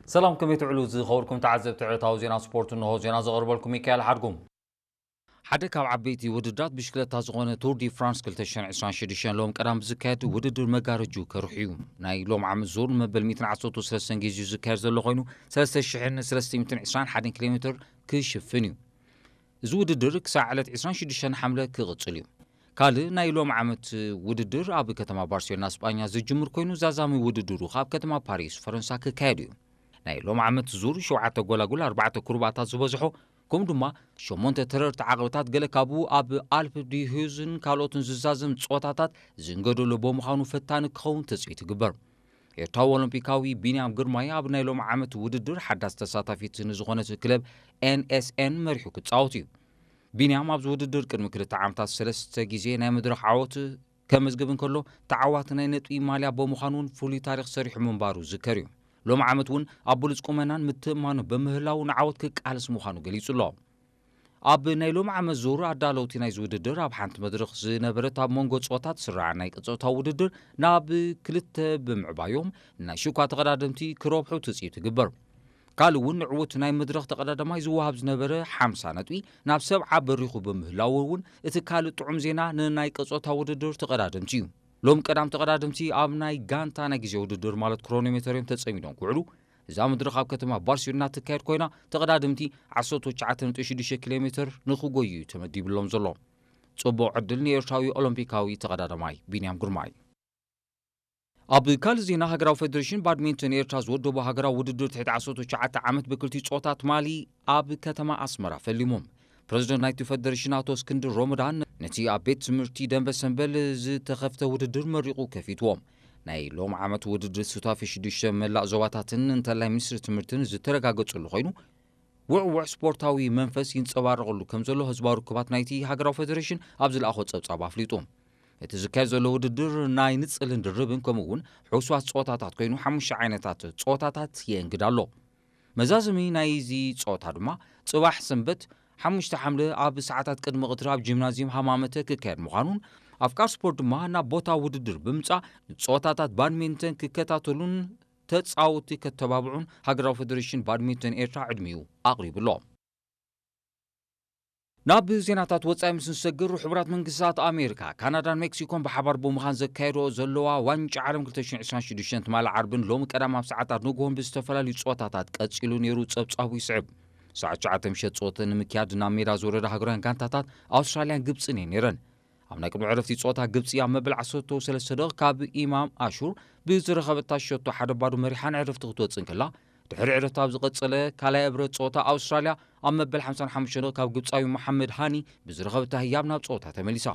ሰላም፣ ከመይ ትውዕሉ ዝኸበርኩም ተዓዘብቲ ዕለታዊ ዜና ስፖርት? እንሆ ዜና ዘቕርበልኩም ሚካኤል ሓድጉም። ሓደ ካብ ዓበይቲ ውድድራት ብሽክለታ ዝኾነ ቱር ዲ ፍራንስ ክልተ ሽሕን ዕስራን ሽዱሽተን ሎም ቀዳም ብዝካየድ ውድድር መጋረጁ ከርሑ እዩ። ናይ ሎም ዓመት ዙር መበል ሚእትን ዓሰርተ ሰለስተን ግዜኡ ዝካየድ ዘሎ ኮይኑ፣ ሰለስተ ሽሕን ሰለስተ ሚእትን ዕስራን ሓደን ኪሎ ሜትር ክሽፍን እዩ። እዚ ውድድር ክሳዕ ዕለት ዕስራን ሽዱሽተን ሓምለ ክቕጽል እዩ። ካልእ ናይ ሎም ዓመት ውድድር ኣብ ከተማ ባርሴሎና ስጳኛ ዝጅምር ኮይኑ፣ ዛዛሚ ውድድሩ ካብ ከተማ ፓሪስ ፈረንሳ ክካየድ እዩ። ናይ ሎም ዓመት ዙር ሸውዓተ ጎላጉል፣ ኣርባዕተ ኩርባታት ዝበዝሖ፣ ከምኡ ድማ ሸሞንተ ተረርቲ ዓቐብታት፣ ገለ ካብኡ ኣብ ኣልፕ ዲ ሂዩዝን ካልኦትን ዝዛዘም ጾታታት ዝንገደሎ ብምዃኑ ፈታኒ ክኸውን ትጽቢት ይግበር። ኤርትራዊ ኦሎምፒካዊ ቢንያም ግርማይ ኣብ ናይ ሎም ዓመት ውድድር ሓዳስ ተሳታፊት ንዝኾነት ክለብ ኤን ኤስ ኤን መሪሑ ክጻወት እዩ። ቢንያም ኣብዚ ውድድር ቅድሚ ክልተ ዓመታት ሰለስተ ግዜ ናይ መድረኽ ዓወት ከመዝግብ እንከሎ፣ ተዓዋቲ ናይ ነጥቢ ማልያ ብምዃን እውን ፍሉይ ታሪኽ ሰሪሑ ምንባሩ ዝከር እዩ። ሎም ዓመት እውን ኣብ ብሉጽ ቁመናን ምትእምማኑ ብምህላው ንዓወት ክቃለስ ምዃኑ ገሊጹ ኣሎ። ኣብ ናይ ሎም ዓመት ዙር ኣዳለውቲ ናይዚ ውድድር ኣብ ሓንቲ መድረኽ ዝነበረት ኣብ መንጎ ጾታት ስራዕ ናይ ቅጽታ ውድድር ናብ ክልተ ብምዕባዮም፣ ናይ ሽኳ ተቐዳደምቲ ክረብሑ ትጽቢት ይግበር። ካልእ እውን ንዕዉት ናይ መድረኽ ተቐዳዳማይ ዝወሃብ ዝነበረ ሓምሳ ነጥቢ ናብ ሰብዓ በሪኹ ብምህላው እውን እቲ ካልእ ጥዑም ዜና ንናይ ቅጾታ ውድድር ተቐዳደምቲ እዩ። ሎም ቀዳም ተቐዳደምቲ ኣብ ናይ ጋንታ ናይ ግዜ ውድድር ማለት ክሮኖሜተር እዮም ተጸሚዶም ክውዕሉ። እዛ መድረኽ ኣብ ከተማ ባርሴሎና ትካየድ ኮይና፣ ተቐዳደምቲ ዓሰርተ ትሽዓተ ነጥቢ ሽዱሽተ ኪሎ ሜትር ንኽጎዩ እዩ ተመዲብሎም ዘሎ። ጽቡቕ ዕድል ንኤርትራዊ ኦሎምፒካዊ ተቐዳዳማይ ቢንያም ግርማይ። ኣብ ካልእ ዜና፣ ሃገራዊ ፌደሬሽን ባድሚንተን ኤርትራ ዝወደቦ ሃገራዊ ውድድር ትሕቲ ዓሰርተ ትሽዓተ ዓመት ብክልቲኡ ጾታ ትማሊ ኣብ ከተማ ኣስመራ ፈሊሙ። ፕረዚደንት ናይቲ ፌደሬሽን ኣቶ እስክንድር ሮመዳን ነቲ ኣብ ቤት ትምህርቲ ደንበ ሰንበል ዝተኸፍተ ውድድር መሪቑ ከፊትዎ። ናይ ሎም ዓመት ውድድር ሱታፌ ሽዱሽተ መላእ ዞባታትን እንተላይ ሚኒስትሪ ትምህርትን ዝተረጋገጸሉ ኮይኑ፣ ውዕውዕ ስፖርታዊ መንፈስ ይንጸባረቐሉ ከም ዘሎ ህዝባዊ ርክባት ናይቲ ሃገራዊ ፌደሬሽን ኣብ ዝለኣኾ ጸብጻብ ኣፍሊጡ። እቲ ዝካየድ ዘሎ ውድድር ናይ ንጽልን ድርብን ከምኡ እውን ሕሱዋት ጸወታታት ኮይኑ፣ ሓሙሽተ ዓይነታት ጸወታታት የእንግድ ኣሎ። መዛዘሚ ናይዚ ጸወታ ድማ ጽባሕ ሰንበት ሓሙሽተ ሓምለ ኣብ ሰዓታት ቅድሚ ቀትሪ ኣብ ጂምናዝየም ሃማመተ ክካየድ ምዃኑን፣ ኣፍቃር ስፖርት ድማ ናብ ቦታ ውድድር ብምጻእ ንጸወታታት ባድሚንተን ክከታተሉን ተጻወትቲ ከተባብዑን ሃገራዊ ፌደሬሽን ባድሚንተን ኤርትራ ዕድሚኡ ኣቕሪቡ ኣሎ። ናብ ዜናታት ወጻኢ ምስ ንሰግር፣ ሕቡራት መንግስታት ኣሜሪካ፣ ካናዳን ሜክሲኮን ብሓባር ብምዃን ዘካየድኦ ዘለዋ ዋንጫ ዓለም ክልተ ሽሕን ዕስራን ሽዱሽተን ትማሊ ዓርብን ሎሚ ቀዳም ኣብ ሰዓታት ንግሆን ብዝተፈላለዩ ጸወታታት ቀጺሉ ነይሩ። ጸብጻቡ ይስዕብ። ሰዓት ትሽዓተ ምሸት ጸወተ ንምክያድ ናብ ሜዳ ዝወረዳ ሃገራውያን ጋንታታት ኣውስትራልያን ግብጽን እየን ነይረን። ኣብ ናይ ቅድሚ ዕረፍቲ ጸወታ ግብጺ ኣብ መበል ዓሰርተ ሰለስተ ደቂቕ ካብ ኢማም ኣሹር ብዝረኸበታ ሸቶ ሓደ ባዶ መሪሓ ንዕረፍቲ ክትወጽእ እንከላ፣ ድሕሪ ዕረፍቲ ኣብ ዝቐጸለ ካልኣይ እብረት ጸወታ ኣውስትራልያ ኣብ መበል ሓምሳን ሓሙሽተን ደቂቕ ካብ ግብጻዊ መሓመድ ሃኒ ብዝረኸበታ ህያብ ናብ ጸወታ ተመሊሳ።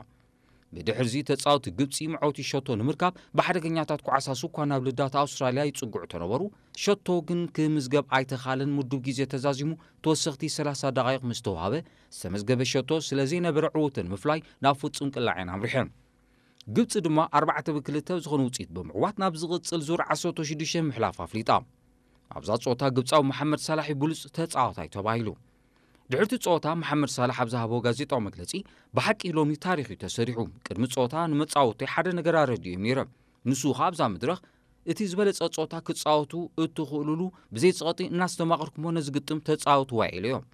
ብድሕርዚ ተጻወቲ ግብጺ መዐወቲ ሸቶ ንምርካብ ብሓደገኛታት ኳዕሳ ስኳ ናብ ልዳት ኣውስትራልያ ይጽግዑ ተነበሩ። ሸቶ ግን ክምዝገብ ኣይተኻለን። ምዱብ ግዜ ተዛዚሙ ተወሰኽቲ ሰላሳ ደቓይቕ ምስ ተዋህበ፣ ዝተመዝገበ ሸቶ ስለ ዘይነበረ ዕውተን ምፍላይ ናብ ፍጹም ቅላዕ እየን ኣምሪሐን። ግብጺ ድማ ኣርባዕተ ብክልተ ብዝኾነ ውጽኢት ብምዕዋት ናብ ዝቕጽል ዙር ዓሰርተ ሽዱሽተ ምሕላፍ ኣፍሊጣ። ኣብዛ ጸወታ ግብጻዊ መሓመድ ሳላሕ እዩ ብሉጽ ተጻዋታይ ተባሂሉ። ድሕርቲ ጸወታ መሓመድ ሳላሕ ኣብ ዝሃቦ ጋዜጣዊ መግለጺ፣ "ብሓቂ ሎሚ ታሪኽ እዩ ተሰሪሑ። ቅድሚ ጸወታ ንመጻወቲ ሓደ ነገር ኣረዲኦም ነይረ። ንሱ ኸኣ ኣብዛ መድረኽ እቲ ዝበለጸ ጸወታ ክጻወቱ እትኽእሉሉ ብዘይ ጸቕጢ እናስተማቐርኩሞ ነዚ ግጥም ተጻወትዋ" ኢለዮ።